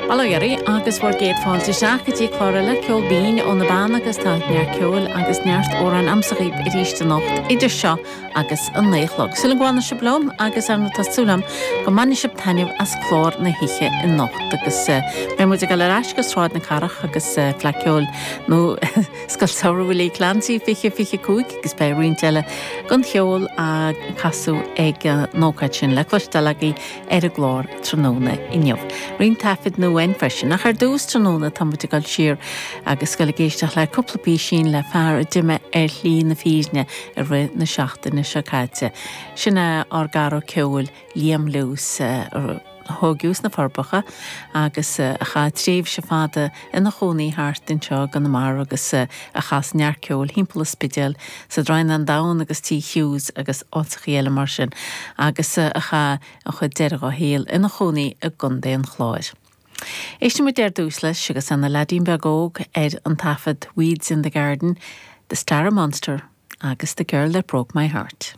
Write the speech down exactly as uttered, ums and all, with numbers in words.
Bail ó Dhia oraibh agus bhur gcéad fáilte isteach go dtí clár eile Ceol Binn ó na Beanna agus tá neart ceoil agus neart amhrán a'msa dhaoibh arís anocht idir seo agus an naoi a chlog. Súil agam go bhfanfaidh sibh liom agus ar ndóigh tá súil agam go mbainfidh sibh taitneamh as clár na hoíche anocht agus beidh muid ag dul ar ais go Sráid na Cathrach agus Fleadh Cheoil nó Scoil Samhraidh Willie Clancy fiche fiche cúig agus beidh roinnt eile den cheol á casadh ag an ócáid sin le cloisteáil agaibh ar an gclár tráthnóna inniu. Roinnt taifid nua ann freisin ach ar dtús tráthnóna tá muid ag dul siar agus ag dul ag éisteacht le cúpla písín le fear a d'imigh ar shlí na fírinne i rith na seachtaine seo caite. Sin é ár gcara ceoil Liam Lewis a tógadh sna Forbacha agus a chaith tréimhse fada ina chónaí thart anseo i gConamara agus a chas neart ceoil timpeall an Spidéil sa Droighneán Donn agus Tí Hughes agus áiteachaí eile mar sin agus a chaith an chuid deiridh dá shaol ina chónaí i gContae an Chláir. Éistfidh muid ar dtús leis agus ina leaidín beag óg ar an taifead Weeds in the Garden, The Star Monster agus The Girl That Broke My Heart.